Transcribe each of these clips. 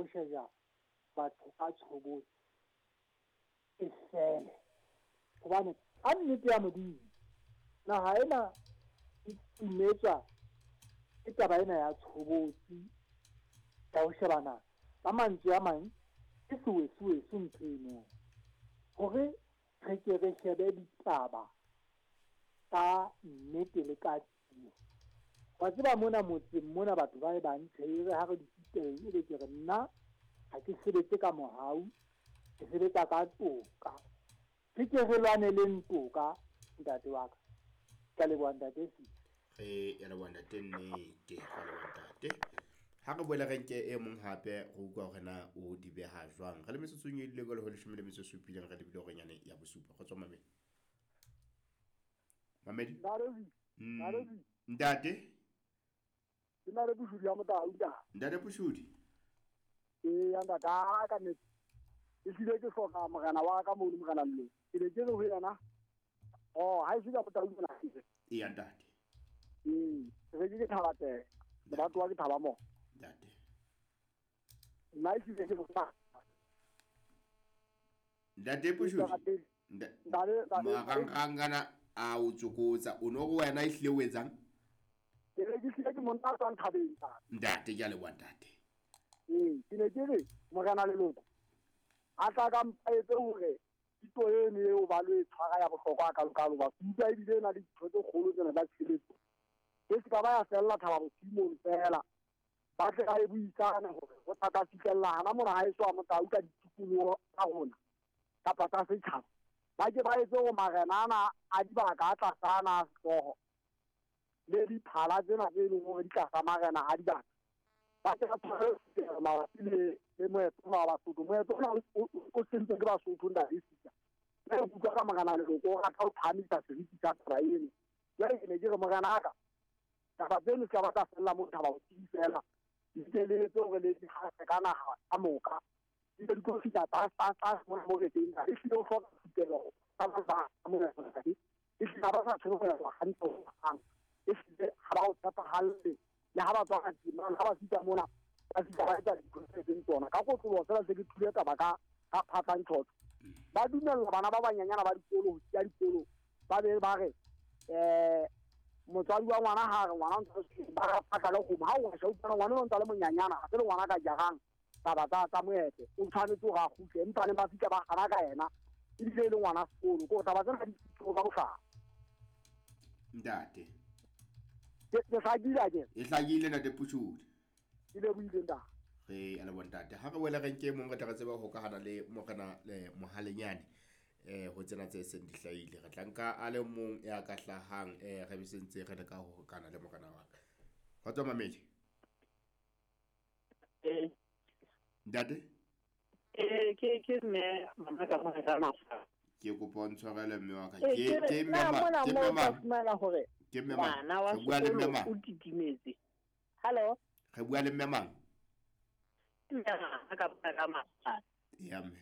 ho sheja batho ka tshobotsi e fele. Hobane ka nnete ya Modimo, naha ena e timetswa ke taba ena ya tshobotsi ya ho shebana ka mantswe a mang ke sewesuwesu ntho eno. Hore re ke re shebe ditaba ka nnete le ka tiyo. Wa tseba mona motseng mona batho ba e bang tjhe, re ha re dutse teng, ebe ke re nna ha ke sebetse ka mohau, ke sebetsa ka toka. Re ke re lwaneleng toka, ntate wa ka. Ke a leboha ntate Sisi. Re ya leboha ntate Nnete, re a leboha ntate. Ha re boele re nke e mong hape re utlwa hore na o di beha jwang. Re le metsotsong e dule ho 17 re lebile horeng yane ya bosupa. Kgotso mamedi. Mamedi. Ntate. Ke na le Pushudi ya Motau ntate. Ntate Pushudi. Ee, ntate a ka nnete. E hlile ke hloka morena wa ka mono morena Llo. Ke ne ke re ho yena. Oh, ha e se ka Motau mona. Ee, ntate. Ee, re ke thaba teng. Batho ba ke thaba mo. Ntate. Nna e hlile ke bona. Ntate Pushudi. Ntate Marangrangana a o tsokotsa o no go wena e hlile o etsang? Ke re ke hlile ke monna a tswang thabeng. Ntate ke a leboha ntate. Ee, ke ne ke re morena Leloko a tla ka mpaetse hore thuto eno eo ba lo e tshwara ya bohlokwa kalokalo ba utlwa ebile e na le ditho tse kgolo tsena tsa tshebeletso. E se ka ba ya fella thaba bosiu fela. Ba tle ba e buisane hore ho tla ka fihlella hana mona ha eso a Motau ka ditikoloho tsa rona kapa tsa setjhaba. Ba ke ba etse hore marena ana a dibaka a tlasa ana a sehlooho le diphala tsena tse leng hore di tlasa marena a dibaka. Ba ke ba tshware mabapi le moetlo wa Basotho. Moetlo ona o sentswe ke Basotho ntate Sisa. Mme re utlwa ka morena Leloko o rata ho phahamisa seriti sa taba eno. Jwale ke ne ke re morena ka taba tseno se ka ba tsa fella mo thaba bosiu fela. Di ke le etse hore le di hase ka naha ka moka. Di be di tlo fihla tlase mona mo re teng. E hlile o hloka thupelo tsa ba mona ntate. E hlile ha ba sa tshwere ho ya hantle ho hang. E hlile ha ba o tshepahalle. Le ha ba tswa ka teng, ha ba fihla mona ba fihla ba etsa dintho tse seng tsona. Ka kotloloho fela se ke thule taba ka phatlang tjhotjho. Ba dumella bana ba banyenyana ba dikolo ho siya dikolo. Ba be ba re motswadi wa ngwana ha re ngwana o ntse ba ra phatla le kgomo. Ha o sheba utlwana ngwana o ntse le monyanyana, ha se le ngwana ka jarang taba tsa moetlo. O tshwanetse hore a kgutle, empa ne ba fihla ba hana ka yena. Ebile e le ngwana sekolo. Ke hore taba tsena di ka bohlano. Ntate. Ke hlakile akere? E hlakile ntate Pushudi. Ke lebohile ntate. Re a leboha ntate. Ha re wele re nke mong re tla re tseba ho hokahana le morena le Mohalenyane ho tsena tse seng di hlahile. Re tla nka a le mong ya ka hlahang re be sentse re leka ho hokana le morena wa ka. Kgotso mamedi. Ntate? Ke mme mama ka mona ka mafa. Ke kopa o ntshwarele mme wa ka. Ke mme ma, ke mme ma. Fumana hore Ke mme mang? ngwana wa Re bua le mme sekolo mang? o titimetse. Hello? Re bua le mme mang? Mme mama ka mona ka mafa. Ya mme.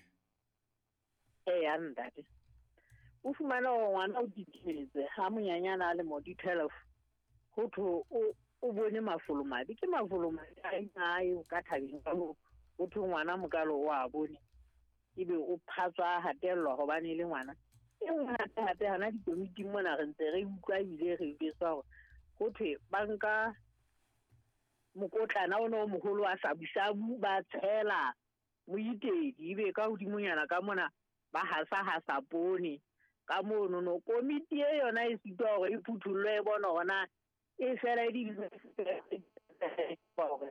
Ee, ntate. O fumana hore ngwana o titimetse ha monyanyana a le mo di 12. Ho thwe o bone mafolomabe. Ke mafolomabe a eo ka thabeng ka moo. Ho thwe ngwana mokalo o a bone. Ebe o phatswa hatellwa hobane e le ngwana. E nngwe hape hape hana dikomiting mona re ntse re utlwa ebile re jwetswa hore ho thwe ba nka mokotlana ona o moholo wa sabusabu ba tshela moitedi ebe ka hodimonyana ka mona ba hasa poone ka mono no. Komiti e yona e sitwa hore e phuthullwe e bone hore na e fela e di hore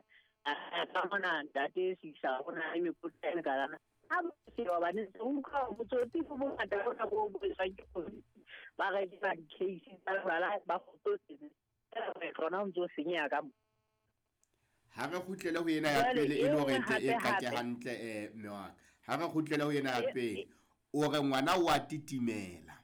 ka mona ntate Sisa ho na le mekotla e mekalana. Ha ba se ba bane se utlwa botsotsi bo bongata bona bo bo etswang ke komiti. Ba rekisa di-case tsa jwala ba kgotsofetse. Feela moetlo ona o ntso senyeha ka mo. Ha re kgutlele ho yena ya pele e le hore e qake hantle mme wa ka. Ha re kgutlele ho yena ya pele. O re ngwana o a titimela.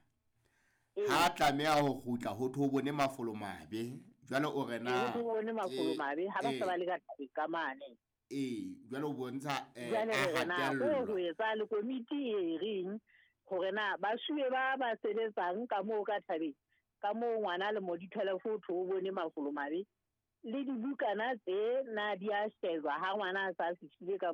Ha tlameha ho kgutla ho thwe o bone mafolomabe. Jwale o re na Ho thwe o bone mafolomabe ha ba se ba le ka thabeng ka mane. Ee, jwale o bontsha Jwale a re na hatellwa. ho etsa le komiti e reng hore na basuwe ba ba sebetsang ka moo ka thabeng ka moo ngwana le mo di 12 ho thwe o bone mafolomabe le dibukana tse na di a shejwa ha ngwana a sa fihlile ka